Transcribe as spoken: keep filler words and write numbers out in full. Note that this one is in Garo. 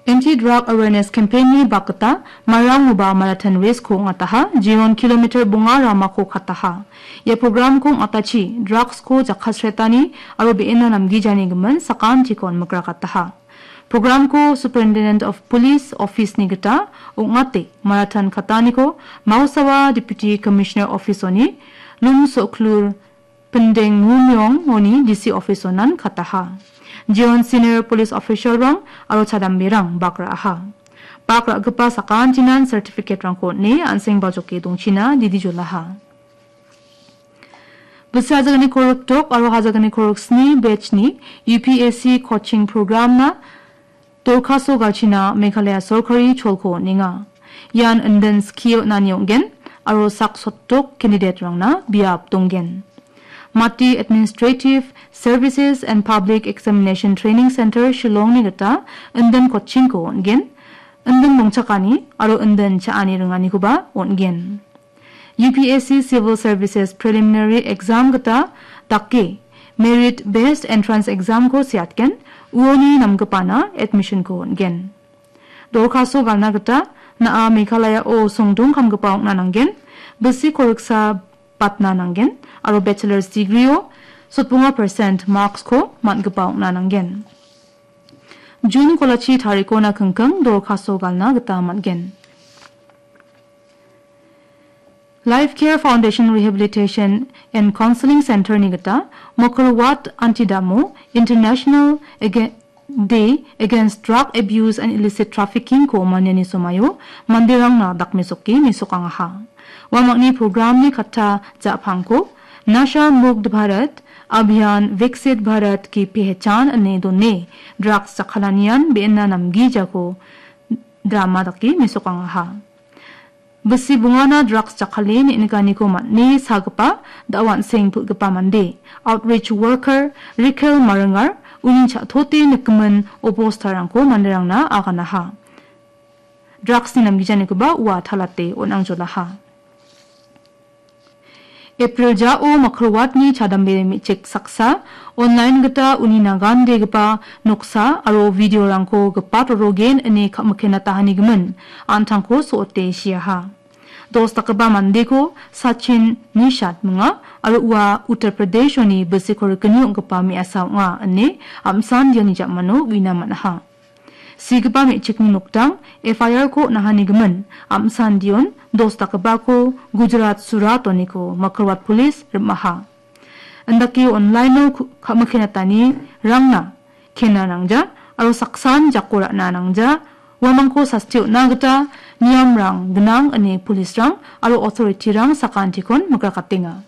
Anti-drug awareness campaign-ni bakgita marangoba marathon race-ko ong·ataha, jeon kilometer bonga ramako kataha. Ia program-ko ong·atachi drugs-ko jakkalsretani aro be·ena namgijani gimin sakantikon mikrakataha. Program-ko Superintendent of Police Office-ni gita ong·ate marathon kataniko Mausawa Deputy Commissioner Office-oni Lum Soklur Pindeng Mumyong-oni D C Office-onan kataha. Jeon senior police official-rang aro chadamberang bak ra·aha. Bak ra·gipa sakantinan certificate-rangko on·e an·seng bajoke dongchina didi jolaha. Bisi hajaganiko rikdok aro hajaganiko riksni batch-ni U P S C coaching program-na dorkaso galchina Meghalaya sorkari cholko on·enga. Ian indin skie on·ani ong·gen aro sak sotdok candidate-rangna biap donggen. Mati Administrative Services and Public Examination Training Center Shillong-ni gita indin coaching-ko on·gen, indin dongchakani aro indin cha·ani ringanikoba on·gen. U P S C Civil Services Preliminary Exam gita dake Merit Based Entrance Exam-ko seatgen, uoni namgipana admission-ko on·gen. Dorkaso galna gita na·a Meghalaya-o songdong kamgipa ong·na nanggen, bisi koriksa batna nanggen, aro bachelor's degree-o sotbonga percent marks-ko man·gipa ong·na nanggen. June kolachi tarikona kingking dorkaso galna gita man·gen. Life Care Foundation Rehabilitation and Counseling Center-ni gita Mokolwat Antidamo International Aga-, Day Against Drug Abuse and Illicit Trafficking-ko maniani somaio manderangna dakmesoke mesokangaha. Uamangni program-ni katta ja·pangko Nasha Mukt Bharat Abhiyan Viksit Bharat Ki Pehchan ine done drugs jakkalanian be·ena namgijako drama dake mesokangaha. Bisi bongana drugs jakkale ne·nikaniko man·e sagipa da·o an·seng pil·gipa mande, outreach worker Rikel Maringar uni cha·tote nikgimin obostarangko manderangna aganaha. Drugs-ni namgijanikoba ua talate on·angjolaha. April jao Makrowatni chadambe me·chik saksa online gita uni nagandegipa noksa aro video-rangko gipat rorogen ine ka·mikenatahanigimin an·tangko so·ote siaha. Dos dakgipa mandeko Sachin Nishat minga aro ua Uttar Pradesh-oni bisiko rikni ong·gipa me·asa ong·a ine am·san diani ja·mano uina man·aha. Sigipa me·chikni noktang F I R-ko on·ahanigimin am·san dion dos dakgipako Gujarat Surat-oniko Makrowat Police rim·aha. Indake online-o ku-, ka·mikenatani rangna kena nangja aro saksan jako ra·na nangja, uamangko sasti on·na gita niamrang gnang ine police-rang aro authority-rang sakantikon mikrakatenga.